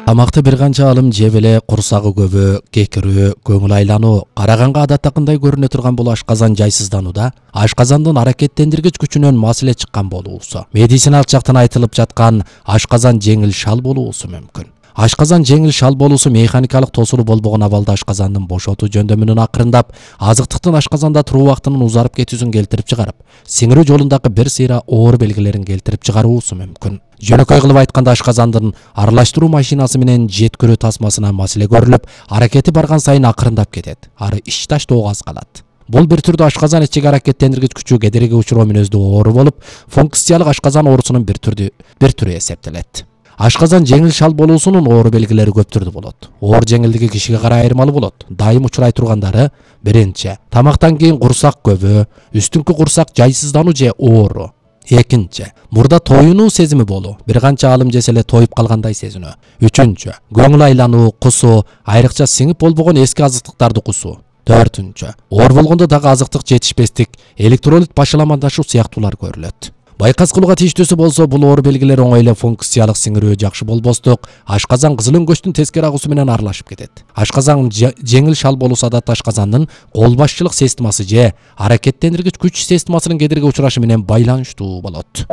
Тамакты бир канча алым жеп эле курсагы көбү, кекирүү, көңүл айлануу, караганга адаттакындай көрүнө турган бул ашказан жайсызданууда ашказандын аракеттендиргич күчүнөн маселе чыккан болуусу. Медициналык жактан айтылып жаткан ашказан жеңил шал болуусу мүмкүн. Ашказан жеңил шал болуусу механикалык тосулу болбогон абалда ашказандын бошотуу жөндөмүнүн акырындап, азыктыктын ашказанда туруу убактынын узарып кетүүсүн келтирип чыгарып, сиңирүү жолундагы бир сыйра оор белгилерин келтирип чыгаруусу мүмкүн. Жөнөкөй кылып айтканда ашказандын аралаштыруу машинасы менен жеткирүү тасмасына маселе көрүлүп, аракети барган сайын акырындап кетет. Ары ич таштоого аз калат. Бул бир түрдүү ашказан ичиги аракеттендиргич күчү кедерги учуруу мүнөздүү оору болуп, функциялык ашказан оорусунун бир түрү эсептелет. Ашказан жеңил шал болуусунун оору белгилери көп түрдүү болот. Оор жеңилдиги кишиге карай айырмалуу болот. Дайым учурай тургандары: биринчи, тамактан кийин курсак көбү, үстүңкү курсак жайсыздануу же оору. Экинчи, мурда тоюнуу сезими болуу, бир канча алым жесе эле тоюп калгандай сезинүү. Үчүнчү, көңүл айлануу, кусуу, айрыкча сиңип болбогон эски азыктыктарды кусуу. Төртүнчү, оор болгондо дагы азыктык жетишпестик, электролит башаламандашуу сыяктуулар көрүлөт. Байкас кылууга тийиштүүсү болсо, бул оору белгилери оңой эле функциялык сиңирүү жакшы болбостук, ашказан кызыл өңгөчтүн тескери агуусу менен аралашып кетет. Ашказан жеңил шал болуусу адатта ашказандын кол башчылык системасы же аракеттендиргич күч системасынын кедерге учурашы менен байланыштуу болот.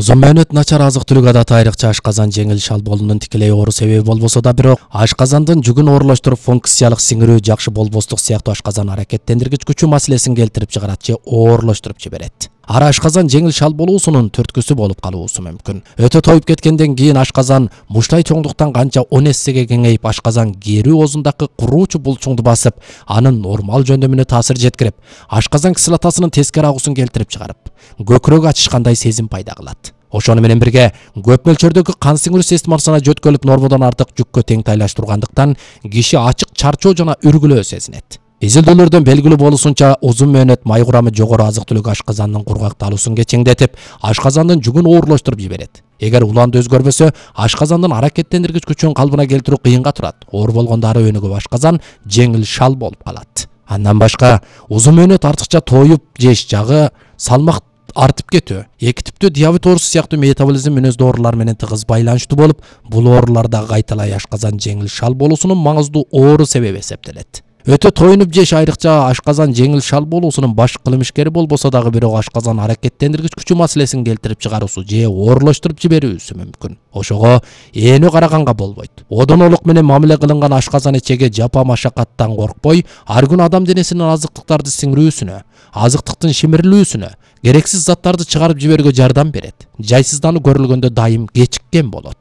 Узун мөөнөт начар азык-түлүк адаты айрыкча ашказан жеңил шал болуунун тикелей оору себеби болбосо да, бирок ашказандын жүгүн оорулаштырып, функциялык сиңирүү жакшы болбостук сыяктуу ашказан аракеттендиргич күчү маселесин келтирип чыгарат же оорлоштуруп жиберет. Ара ашказан жеңил шал болуусунун түрткүсү болуп калуусу мүмкүн. Өтө тоюп кеткенден кийин ашказан муштай чоңдуктан канча 10 эссеге кеңейип, ашказан керүү оозундагы куруучу булчуңду басып, анын нормал жөндөмүнө таасир жеткирип, ашказан кислотасынын тескери агуусун келтирип чыгарып, көкүрөк ачышкандай сезим пайда кылат. Ошону менен бирге көп мөлчөрдөгү кан сиңирүү системасына жөткөлүп, нормодон артык жүккө тең тайлаштыргандыктан киши ачык чарчоо жана үргүлөө сезинет. Изилдөөлөрдөн белгилүү болуусунча, узун мөөнөт май курамы жогору азык-түлүк ашказандын кургакталуусун кечеңдетип, ашказандын жүгүн оорлоштуруп жиберет. Эгер уланды өзгөрбөсө, ашказандын аракеттендиргич күчүн калыбына келтирүү кыйынга турат. Оор болгондо ары өнүгүп, ашказан жеңил шал болуп калат. Андан башка, узун мөөнөт артыкча тоюп жеш жагы, салмак артып кетүү, эки типтүү диабет оорусу сыяктуу метаболизм мүнөздүү оорулар менен тыгыз байланыштуу болуп, бул ооруларда кайталай ашказан жеңил шал болуусунун маңыздуу оору себеби эсептелет. Өтө тоюнуп жеш айрыкча ашказан жеңил шал болуусунун баш кылмышкери болбосо дагы, бирок ашказан аракеттендиргич күчү маселесин келтирип чыгаруусу же оорлоштуруп жиберүүсү мүмкүн. Ошого ээнүү караганга болбойт. Одонолук менен мамиле кылынган ашказан ичеги жапа машакаттан коркпой, ар күнү адам денесинин азыктыктарды сиңирүүсүнө, азыктыктын шимирилүүсүнө, керексиз заттарды чыгарып жиберүүгө жардам берет. Жайсыздануу көрүлгөндө дайым кечиккен болот.